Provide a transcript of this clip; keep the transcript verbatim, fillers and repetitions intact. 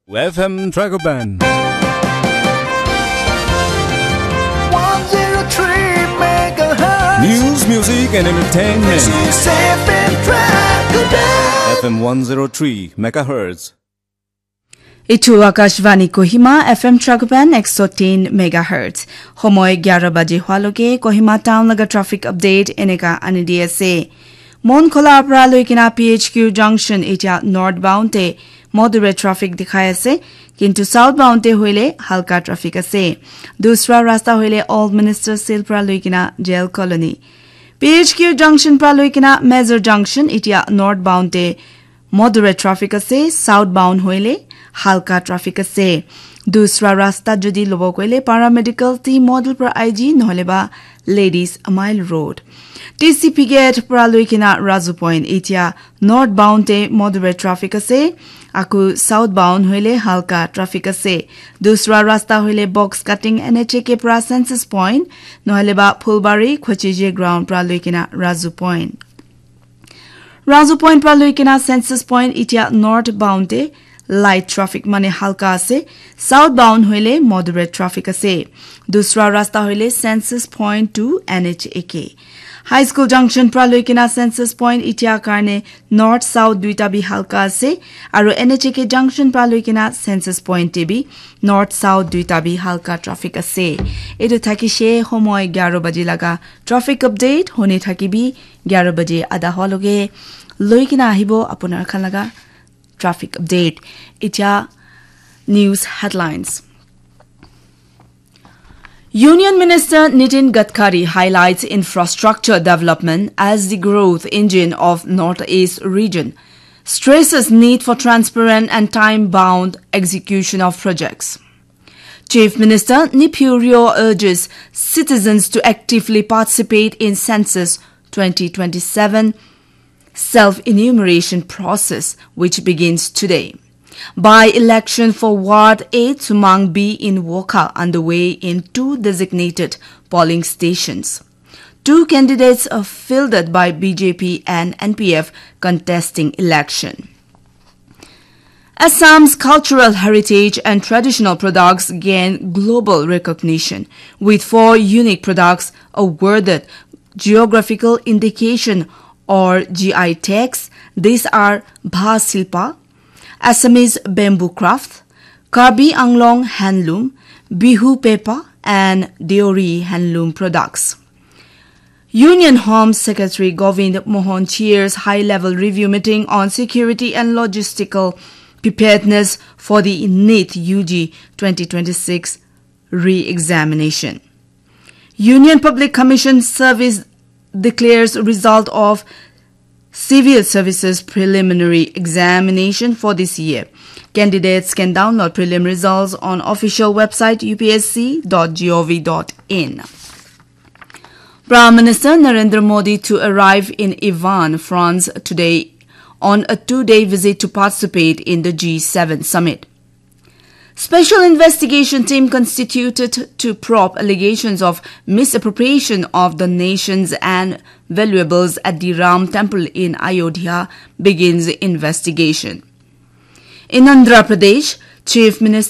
F M Dragoban. One zero three megahertz. News, music, and entertainment. This is F M Dragoban. F M one zero three megahertz. Itu Akashvani Kohima, F M Dragoban, ek so tin megahertz. Homoi gyara baje hwaloge Kohima town laga traffic update eneka ani di ase. Monkhola pra loikena P H Q junction itia northbound te moderate traffic dikhai ase, kintu southbound te hoile halka traffic ase. Dusra rasta hoile Old Minister Seal pra loikena Jail Colony. P H Q junction pra loikena Major junction itia northbound te moderate traffic ase, southbound hoile halka traffic ase. Dusra rasta jodi lobo koile paramedical team model pra I G nohole ba Ladies Mile Road. T C P gate pra loikena Razu Point itia northbound te moderate traffic ase, aku southbound hoile halka traffic ase. Dusra rasta hoile box cutting N H A K pra Census Point, nohole ba Phulbari Khochije ground pra loikena Razu Point. Razu Point pra loikena Census Point itia northbound te light traffic mane halka ase, southbound hoile moderate traffic ase. Dusra rasta hoile Census Point to N H A K. High School junction pra loikena Census Point itia karne north south duita bi halka ase, aru N H A K junction pra loikena Census Point te bi north south duita bi halka traffic ase. Etu thakishe homoi gyara baji laga traffic update. Hone thakibi gyara baji ada hwaloge loikena ahibo apunar khan laga traffic update. Itia news headlines. Union Minister Nitin Gadkari highlights infrastructure development as the growth engine of Northeast region, stresses need for transparent and time-bound execution of projects. Chief Minister Neiphiu Rio urges citizens to actively participate in Census twenty twenty-seven self-enumeration process, which begins today. By-election for Ward eight Sumang B in Wokha underway in two designated polling stations. Two candidates are fielded by B J P and N P F contesting election. Assam's cultural heritage and traditional products gain global recognition, with four unique products awarded geographical indication or G I tags. These are Bha Silpa, Assamese bamboo craft, Karbi Anglong handloom, Bihu Pepa, and Deori handloom products. Union Home Secretary Govind Mohan chairs high-level review meeting on security and logistical preparedness for the NEET U G twenty twenty-six re-examination. Union Public Commission Service declares result of Civil Services preliminary examination for this year. Candidates can download prelim results on official website U P S C dot gov dot in. Prime Minister Narendra Modi to arrive in Evian, France today on a two-day visit to participate in the G seven summit. Special investigation team constituted to probe allegations of misappropriation of the nation's and valuables at the Ram Temple in Ayodhya begins investigation. In Andhra Pradesh, Chief Minister